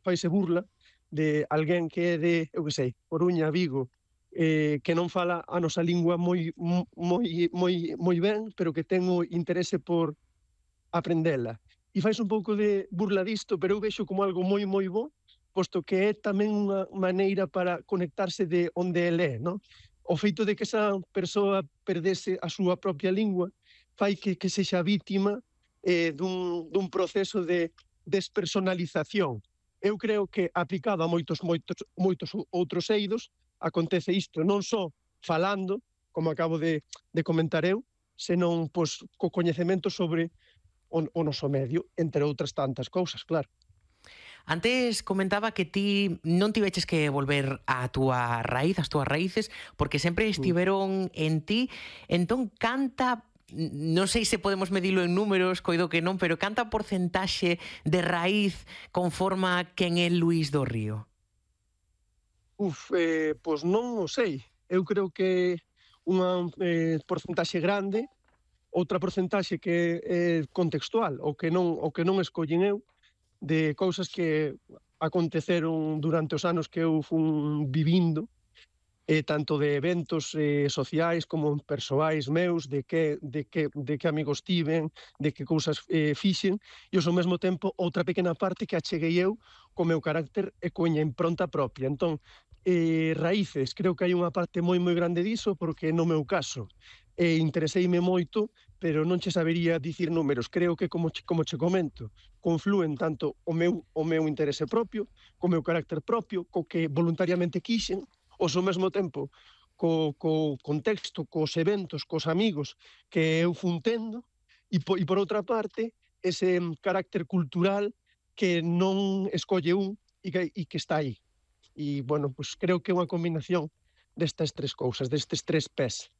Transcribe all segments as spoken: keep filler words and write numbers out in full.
faise burla de alguén que é de, eu que sei, Coruña, Vigo, eh, que non fala a nosa lingua moi, moi, moi, moi ben, pero que ten o interese por aprendela. E fais un pouco de burla disto, pero eu vexo como algo moi, moi bo, posto que é tamén unha maneira para conectarse de onde ele é, non? O feito de que esa persoa perdese a súa propia lingua fai que, que sexa vítima eh, dun, dun proceso de despersonalización. Eu creo que aplicado a moitos, moitos, moitos outros eidos, acontece isto, non só falando, como acabo de, de comentar eu, senón pois, co coñecemento sobre o, o noso medio, entre outras tantas cousas, claro. Antes comentaba que ti non tiveches que volver á túa raíz, as túas raíces, porque sempre estiveron en ti. Entón, canta, non sei se podemos medilo en números, coido que non, pero canta porcentaxe de raíz conforma quen é Luís do Río? Uf, eh, pois non o sei. Eu creo que unha eh, porcentaxe grande, outra porcentaxe que é contextual, o que non, o que non escollen eu, de cousas que aconteceron durante os anos que eu fun vivindo, eh, tanto de eventos eh, sociais como persoais meus, de que, de, que, de que amigos tiven, de que cousas eh, fixen, e ao mesmo tempo outra pequena parte que acheguei eu co meu carácter e coña impronta propia. Entón, eh, raíces, creo que hai unha parte moi moi grande diso, porque no meu caso eh, intereseime moito, pero non che sabería dicir números. Creo que, como che, como che comento, confluen tanto o meu, o meu interese propio, co meu carácter propio, co que voluntariamente quixen, ou ao mesmo tempo co, co contexto, cos eventos, cos amigos que eu fun tendo, e por, e por outra parte, ese carácter cultural que non escolle un e que, e que está aí. E, bueno, pues creo que é unha combinación destas tres cousas, destes tres pés.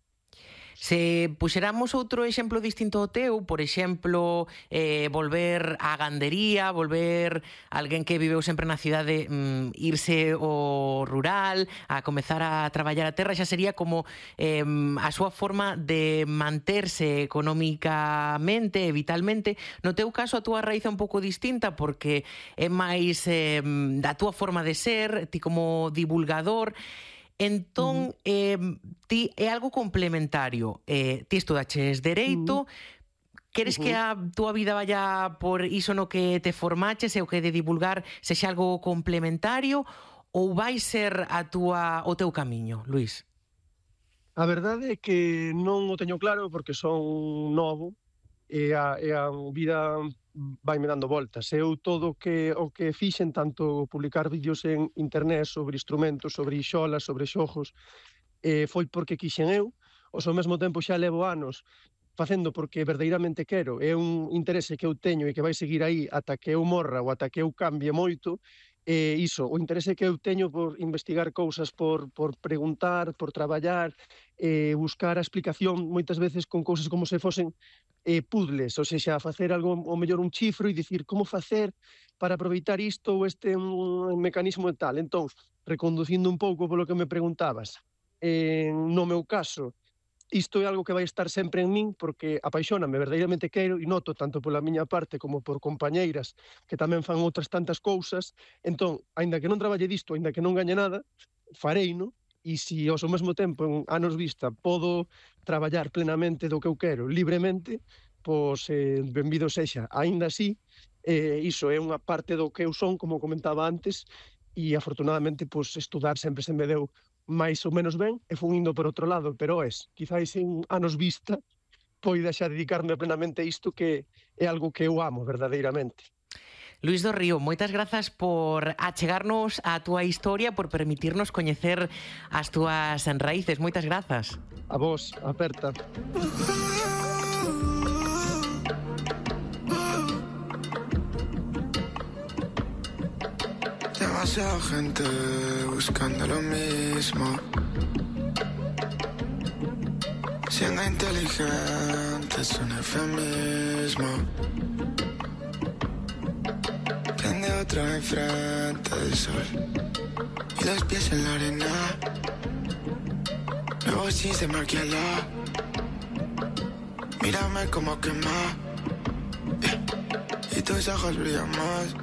Se puxéramos outro exemplo distinto ao teu, por exemplo, eh, volver á gandería, volver alguén que viveu sempre na cidade, mm, irse ao rural, a comezar a traballar a terra, xa sería como eh, a súa forma de manterse económicamente e vitalmente. No teu caso, a túa raíz é un pouco distinta porque é máis eh, da túa forma de ser, ti como divulgador. Entón, eh, ti é algo complementario. Eh, ti estudaches Dereito, uh-huh. queres uh-huh. que a túa vida vaya por iso no que te formaches e o que de divulgar sexa algo complementario, ou vai ser a túa, o teu camiño, Luís? A verdade é que non o teño claro porque son novo e a, e a vida vai me dando voltas. Eu todo o que, o que fixen, tanto publicar vídeos en internet sobre instrumentos, sobre xolas, sobre xogos, eh, foi porque quixen eu, ou ao mesmo tempo xa levo anos facendo porque verdadeiramente quero, é un interese que eu teño e que vai seguir aí ata que eu morra ou ata que eu cambie moito, e iso, o interese que eu teño por investigar cousas, por, por preguntar, por traballar, eh, buscar a explicación moitas veces con cousas como se fosen eh, puzzles, ou seja, facer algo, o mellor un chifro e dicir como facer para aproveitar isto ou este um, mecanismo e tal. Entón, reconducindo un pouco polo que me preguntabas, eh, no meu caso, isto é algo que vai estar sempre en min porque apaixóname, verdadeiramente quero e noto tanto pola miña parte como por compañeiras que tamén fan outras tantas cousas. Entón, aínda que non traballe disto, aínda que non gañe nada, fareino, e se ao mesmo tempo en anos vista podo traballar plenamente do que eu quero, libremente, pois eh, benvido sexa. Aínda así, eh, iso é unha parte do que eu son, como comentaba antes, e afortunadamente pois, estudar sempre se me deu máis ou menos ben, e fun indo por outro lado, pero es, quizáis en anos vista, poida xa dedicarme plenamente a isto que é algo que eu amo verdadeiramente. Luís do Río, moitas grazas por achegarnos a túa historia, por permitirnos coñecer as túas raíces. Moitas grazas. A vos, aperta. Demasiada gente buscando lo mismo, siendo inteligente es un eufemismo. Prende otro enfrente del sol y los pies en la arena. Luego sí se maquilla, mírame como quema, yeah. Y tus ojos brillan más.